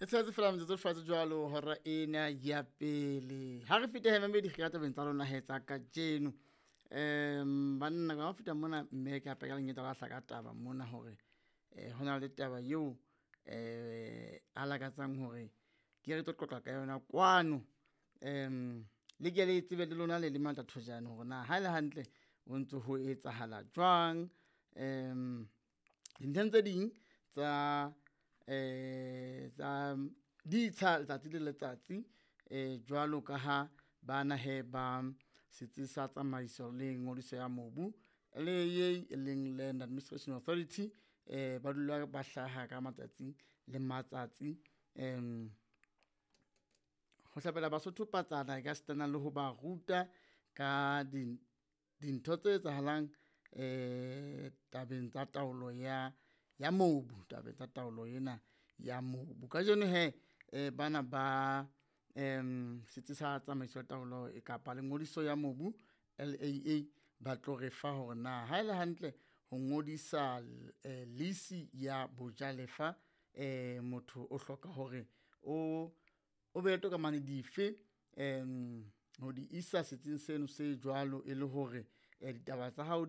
E tshetse fela metsotso fatshe jwalo hora ena ya pele. Ha re fete he mamedi re tabeng tsa lona he tsa kajeno. Banna ka feta mona, mme ke hape ka lenyetla la hlaka taba mona hore ho na le taba eo a lakatsang hore ke re tlo qoqa ka yona kwano. Le ke le tsebe le lona le le matatjhojane hore na haele hantle ho ntso ho etsahala jwang. Dintlheng tse ding tsa tsa ditsha letsatsi le letsatsi jwalo ka ha bana hee ba setsi sa tsamaiso le ngodiso ya mobu le ye e leng Land Administration Authority, ba dula ba hlaha ka matsatsi le matsatsi. Ho hlabela Basotho patsana e ka sitana le ho ba ruta ka dintho tse etsahalang tabeng tsa taolo ya mobu, tabeng tsa taolo ena ya mobu. Kajeno hee bana ba setsi sa tsamaiso ya taolo kapa le ngodiso ya mobu LAA ba tlo re fa hore na haele hantle ho ngodisa lease ya bojalefa motho o hloka hore o be le tokomane dife ho di isa setsing seno se jwalo e le hore ditaba tsa hao di.